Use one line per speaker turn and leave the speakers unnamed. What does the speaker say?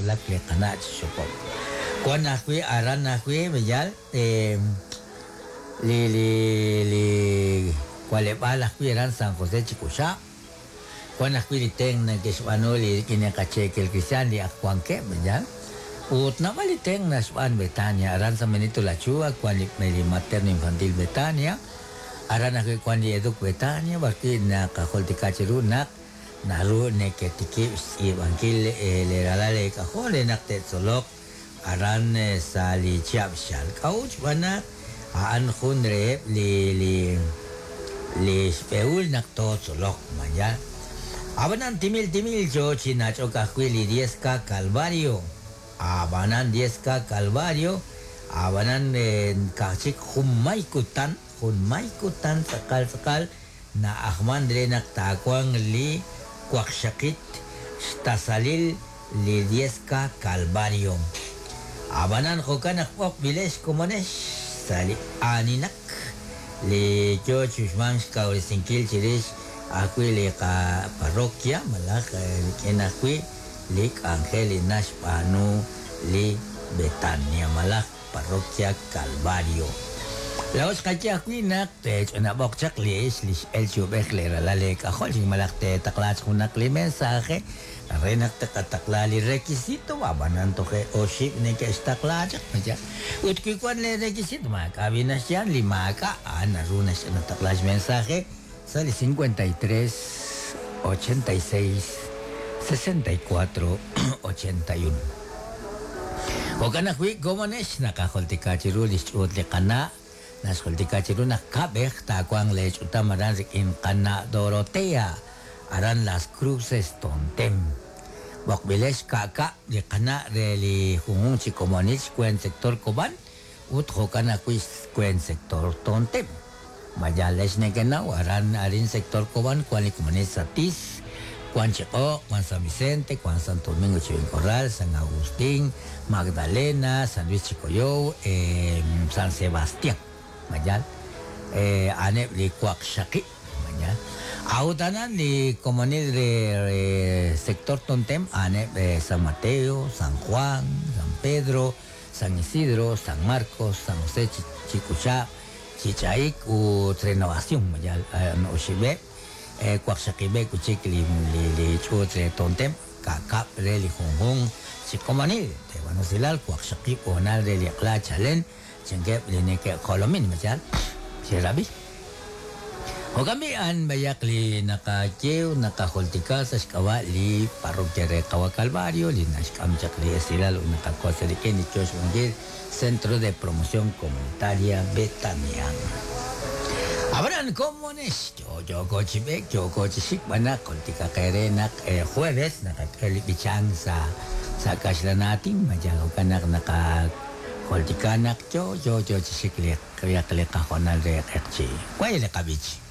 nawulak li qana' chi xokok. Wan ajwi' aran ajwi' b'eyal li li li wa'leb'aal ajwi' aran San José Chicuxab'. Wan ajwi' li tenq' nake'xb'aanu li rik'in li qacheekel kristiaan li ak wankeb' b'eyal. Ut naab'al li tenq' naxb'aan Betania aran San Benito La Chuva wan li Materno Infantil Betania. Aran ajwi' wan li Educ Betania b'arwi' naqajultika cheru naq naru neketikib' xtz'iib'ankil li ralal eek'ajol re naq te'tzoloq aran sa' li chihab' xchalk. K'a'ut xb'aan naq a'an jun reheb' li li li xb'ehul naq tootzoloq maya. Ab'anan timil timil yo chi nach'ok ajwi' li 10K Calvario. Ab'anan 10K Calvario, ab'anan ka'aj chik junmay kutan, junmay kutan tz'aqal tz'aqal na'ajman re naq taawanq li waqxaqit xtasalil li 10K Calvario. Ab'anan jo'kan naq b'oqb'ilex komonex sa' li aaninak li yo chi uxmank xkawresinkil chirix ajwi' li qaparroquia malaj rik'in ajwi' li k'anjel li naxb'aanu li Betania malaj Parroquia Calvario. Laa'o xqaye ajwi' naq teech'onab'oq chaq li ix li x'el chi ub'ej leeralal eek'ajol chik malaj teetaqla junaq li mensaje re naq teqataqla li requisito ab'anan toje' oxib' neke'xtaqla chaq maya. Ut wi wan lee requisito maak'a' b'i naxye li maak'a' a'an naru naxtaqla xmensaje sa' li 53 86 64 81. Jo'kan ajwi' komonex naqajultika chiru li xch'uut li qana' naxjultika chiru naq kab'ej taawanq leech'utam aran rik'in qana' Dorotea aran Las Cruces Tontem. B'oqb'ilex ka'ka' li qana' re li junjunq chi komonil xweent sector Kob'an ut jo'kan ajwi' xweent sector Tontem. Mayalex nekenaw aran arin sector Kob'an wan li komonil Satis, wan Chiq'o', wan San Vicente, wan Santo Domingo Chivincorral, San Agustín, Magdalena, San Luis Chicoyow, San Sebastián. Mayal aneb' li waqxaqib'. Mayal. A'utanan li komonil re sector Tontem aneb' San Mateo, San Juan, San Pedro, San Isidro, San Marcos, San José Chicuchá, Chichaik ut Renovación mayal oxib'eb' waqxaqib'eb' kuchik li li ch'uut re Tontem ka'kab' re li junjunq chi komonil teeb'anusilal waqxaqib' hoonal re li q'la chalen chankeb' li neke'jolomin mayal xerab'i. Jo'kan b'i' a'an b'ayaq li naqaye naqajultika sa' xk'ab'a' li parroquia re Qawa Calvario li naxk'am chaq li esilal ut naqakos rik'in li yo xb'aanunkil Centro de Promoción Comunitaria Betania. Ab'anan komonex yo yooko chi b'eek yooko chi xik b'an naq jultika qe re naq jueves naqak'e li b'ichank sa' sa' kaxlan aatin mayal jo'kan naq naqajultika naq yo yo yo chi xik li li qahoonal re q'eqchi'. Way li qab'ich.